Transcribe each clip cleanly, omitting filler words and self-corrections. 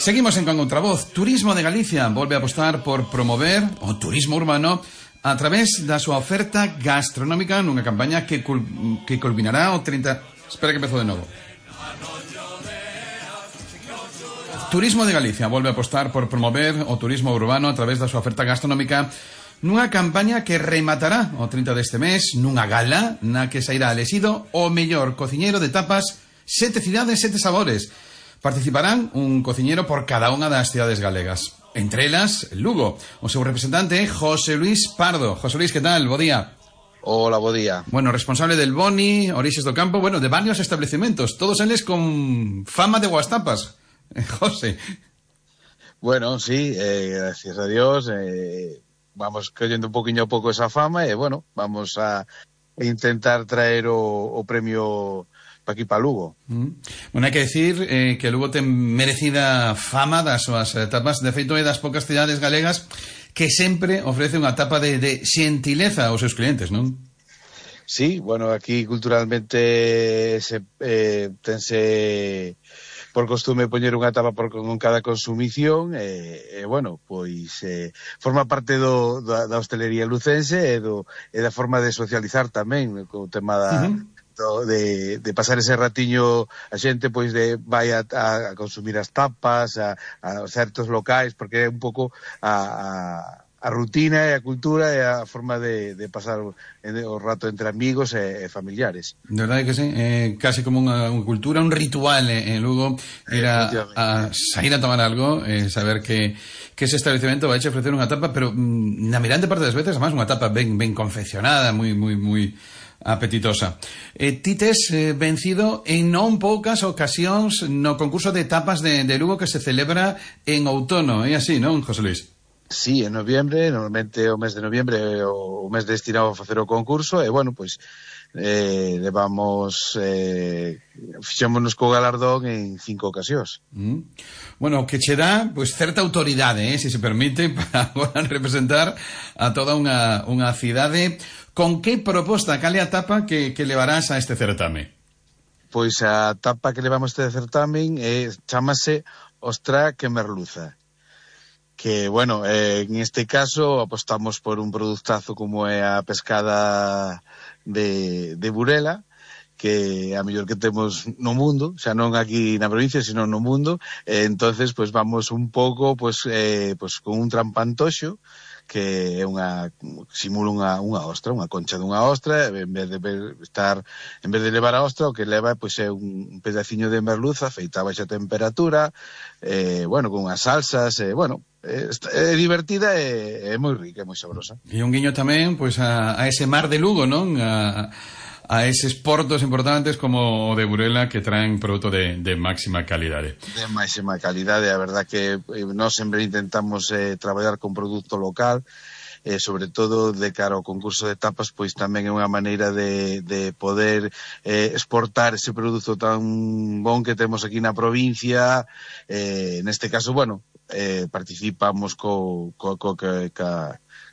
Seguimos en Con Outra Voz. Turismo de Galicia volve a apostar por promover o turismo urbano a través da súa oferta gastronómica nunha campaña que culminará o 30... Espera que empezo de novo. Turismo de Galicia volve a apostar por promover o turismo urbano a través da súa oferta gastronómica nunha campaña que rematará o 30 deste mes nunha gala na que sairá elexido o mellor cociñeiro de tapas 7 cidades, 7 sabores. Participarán un cociñero por cada unha das cidades galegas. Entre elas, Lugo. O seu representante é José Luis Pardo. José Luis, que tal? Bo día. Hola, bo día. Bueno, responsable del Boni, Orixes do Campo, bueno, de varios establecimientos, todos eles con fama de boas tapas. José. Bueno, sí, gracias a Dios, vamos collendo un poquinho a pouco esa fama e, bueno, vamos a intentar traer o premio para aquí, para Lugo. Bueno, hai que decir que Lugo ten merecida fama das súas tapas. De feito, é das poucas cidades galegas que sempre ofrece unha tapa de xentileza aos seus clientes, non? Sí, bueno, aquí culturalmente tense por costume poñer unha tapa con cada consumición bueno, pois forma parte da hostelería lucense e da forma de socializar tamén co tema de pasar ese ratiño a xente pois vai a consumir as tapas a certos locais, porque é un pouco a rutina e a cultura e a forma de pasar o rato entre amigos e familiares. De verdade que sí, casi como unha cultura, un ritual en Lugo, ir a sair a tomar algo, saber que ese establecemento vai a ofrecer unha tapa, pero na mirante parte das veces, además, unha tapa ben confeccionada, moi apetitosa. Ti tes vencido en non poucas ocasións no concurso de tapas de Lugo que se celebra en outono, é así, non, José Luis? Sí, en noviembre, normalmente o mes de noviembre o mes destinado a facer o concurso e, bueno, pois fixémonos co galardón en 5 ocasións. Bueno, que che dá pois certa autoridade, se se permite, para agora representar a toda unha cidade. Con que proposta, cal é a tapa que levarás a este certame? Pois a tapa que levamos a este certamen chamase Ostra que merluza. Que, bueno, en este caso apostamos por un produtazo como é a pescada de Burela, que é a mellor que temos no mundo, xa non aquí na provincia, sino no mundo. Entonces, pois vamos un pouco pois con un trampantoxo que é simula unha ostra, unha concha dunha ostra, en vez de levar a ostra, o que leva pois é un pedaciño de merluza feita a baixa temperatura, bueno, con unhas salsas, bueno, é divertida e é moi rica, é moi sabrosa. E un guiño tamén pois a ese mar de Lugo, non? A eses portos importantes como o de Burela que traen produto de máxima calidade. De máxima calidade, a verdad que nós sempre intentamos traballar con produto local, sobre todo de cara ao concurso de tapas, pois tamén é unha maneira de poder exportar ese produto tan bon que temos aquí na provincia. Neste caso, bueno, participamos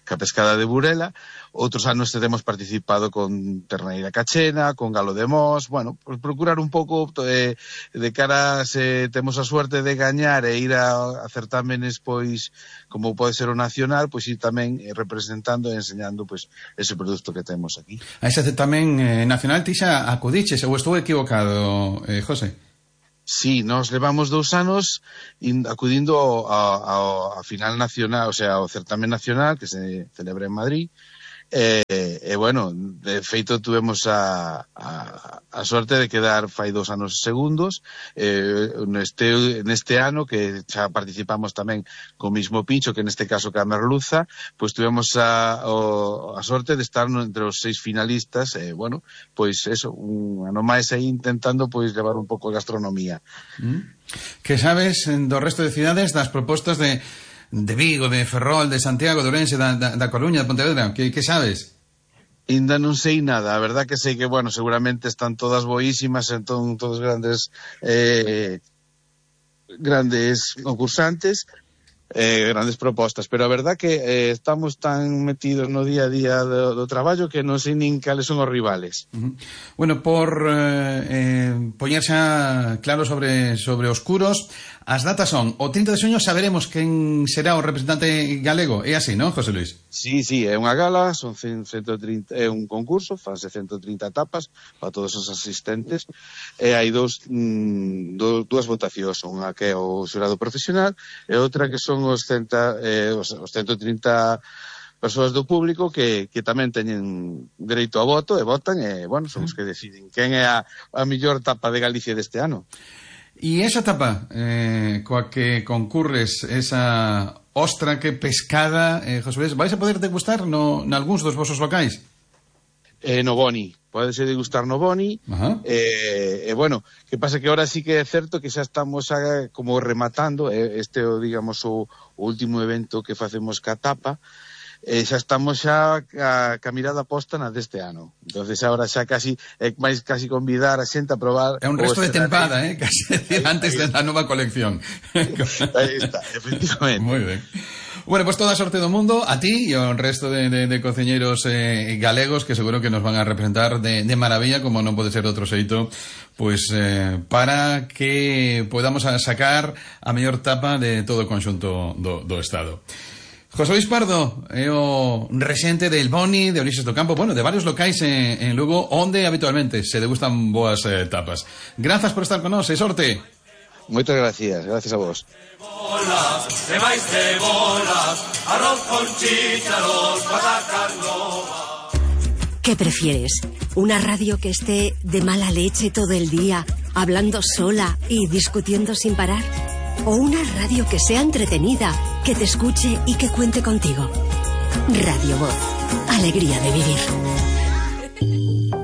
ca pescada de Burela. Outros anos temos participado con terneira cachena, con galo de mos, bueno, procurar un pouco de cara se temos a suerte de gañar e ir a certámenes pois como pode ser o nacional, pois ir tamén representando e enseñando pois ese produto que temos aquí. A ese certamen nacional ti xa acudiches, ou estou equivocado, José? Sí, nos levamos 2 anos acudindo a final nacional, o sea, ao certamen nacional que se celebra en Madrid. Bueno, de feito tuvemos a sorte de quedar fai 2 anos segundos. Neste ano que xa participamos tamén co mismo pincho, que neste caso ca merluza, pois tuvemos a sorte de estar entre os 6 finalistas. Bueno, pois eso, un ano máis aí intentando pois levar un pouco de gastronomía. Que sabes do resto de cidades das propostas de Vigo, de Ferrol, de Santiago, de Ourense, da Coruña, de Pontevedra? Que sabes? Ainda non sei nada, a verdad que sei que, bueno, seguramente están todas boísimas, entón todos grandes concursantes, grandes propostas, pero a verdad que estamos tan metidos no día a día do traballo que non sei nin cales son os rivales. Bueno, por poñerse claro sobre Oscuros, as datas son o 30 de xuño, saberemos quen será o representante galego, é así, non, José Luis? Sí, é unha gala, son 130, é un concurso, fanse 130 etapas para todos os asistentes, e hai dúas votacións, unha que é o xurado profesional e outra que son os 130 persoas do público que tamén teñen dereito a voto e votan, e, bueno, son os que deciden quen é a mellor tapa de Galicia deste ano. E esa tapa coa que concurres, esa ostra que pescada, José Luis, vais a poder degustar nalgúns dos vosos locais? No Boni, podese degustar no Boni. Bueno, que pasa que ahora sí que é certo que xa estamos como rematando este, digamos, o último evento que facemos ca tapa. Xa estamos xa ca mirada posta na deste ano. Entonces ahora xa casi máis casi convidar a xente a probar. É un resto de tempada, casi decir, antes da nova colección. Aí está, efectivamente. Moi ben. Bueno, pues toda a sorte do mundo a ti e ao resto de cociñeiros galegos, que seguro que nos van a representar de maravilla, como non pode ser de outro xeito, pues para que podamos sacar a mellor tapa de todo o conxunto do Estado. José Luis Pardo é o rexente del Boni, de Ulises do Campo, bueno, de varios locais en Lugo, onde habitualmente se degustan boas tapas. Grazas por estar con nós, e sorte. Moitas gracias a vos. Arroz con chícharos, patacas novas. ¿Qué prefieres? ¿Una radio que esté de mala leche todo el día, hablando sola y discutiendo sin parar? ¿O una radio que sea entretenida, que te escuche y que cuente contigo? Radio Voz. Alegría de vivir.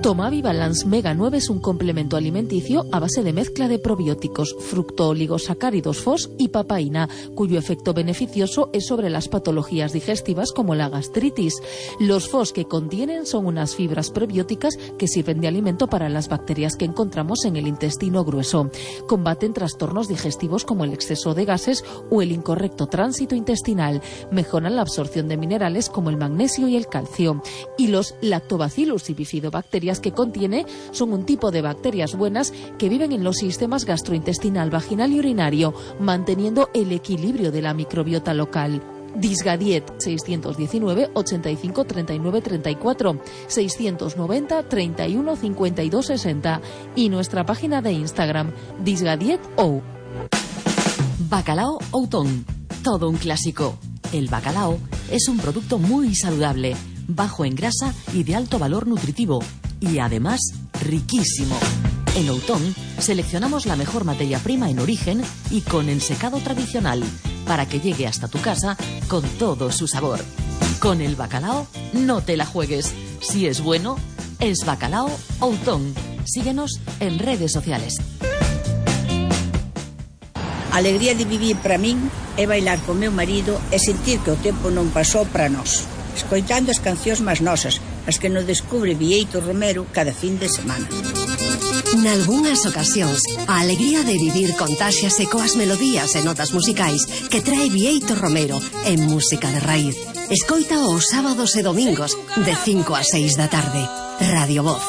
Tomavi Balance Mega 9 es un complemento alimenticio a base de mezcla de probióticos, fructooligosacáridos FOS y papaína, cuyo efecto beneficioso es sobre las patologías digestivas como la gastritis. Los FOS que contienen son unas fibras prebióticas que sirven de alimento para las bacterias que encontramos en el intestino grueso. Combaten trastornos digestivos como el exceso de gases o el incorrecto tránsito intestinal. Mejoran la absorción de minerales como el magnesio y el calcio. Y los lactobacillus y bifidobacterias que contiene son un tipo de bacterias buenas que viven en los sistemas gastrointestinal, vaginal y urinario, manteniendo el equilibrio de la microbiota local. Disgadiet 619 85 39 34 690 31 52 60 y nuestra página de Instagram disgadiet.ou. Bacalao Outón, todo un clásico. El bacalao es un producto muy saludable, bajo en grasa y de alto valor nutritivo, y además riquísimo. En Outón seleccionamos la mejor materia prima en origen y con ensecado tradicional para que llegue hasta tu casa con todo su sabor. Con el bacalao no te la juegues. Si es bueno, es Bacalao Outón. Síguenos en redes sociales. A alegría de vivir para min é bailar con meu marido e sentir que o tempo non pasou para nós, escoitando as cancións máis nosas, as que nos descubre Bieito Romero cada fin de semana. Nalgúnas ocasións, a alegría de vivir contáxiase coas melodías e notas musicais que trae Bieito Romero en Música de Raíz. Escoita os sábados e domingos de 5 a 6 da tarde. Radio Voz.